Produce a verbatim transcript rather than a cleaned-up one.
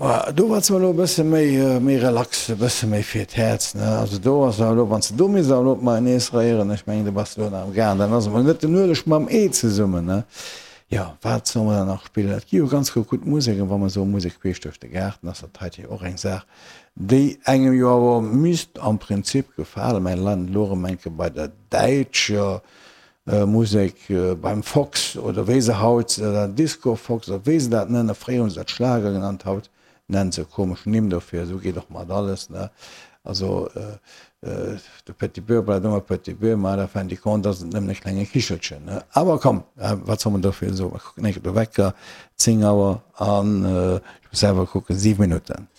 Do war zwar elo e bësse méi, méi relax, e bësse méi fir d'Häerz, ne. Also do ass awer elo, wann s de do misst awer elo d'Mayonnaise réieren, ech mengen, do bass de elo nach am Gaang, dann ass emol net den Ueleg mam Ee zesummen, ne. Jo, wat solle mer dann nach spillen? Et gi jo ganz gutt Musek, an wa mer soe Musek queesch duerch de Gaart, dann ass dat heite jo och eng Saach, déi engem jo awer misst am Prinzip gefalen. Mä landen elo erëm eng Kéier bei der däitscher Musek beim Fox oder wéi se haut, Disco Fox oder wéi se dat nennen, fréier hunn se dat Schlager genannt, haut nennen se komesch Nimm dofir, esou geet och mat alles, ne. Also de Petit Beurre bleift ëmmer Petit Beurre, ma à la fin du compte ass et nëmmen e klenge Kichelchen, ne. Awer komm, wat soll mer dofir soen, mer kucken eng Kéier de Wecker, zéng Auer an, ech muss selwer kucken, siwe Minutten.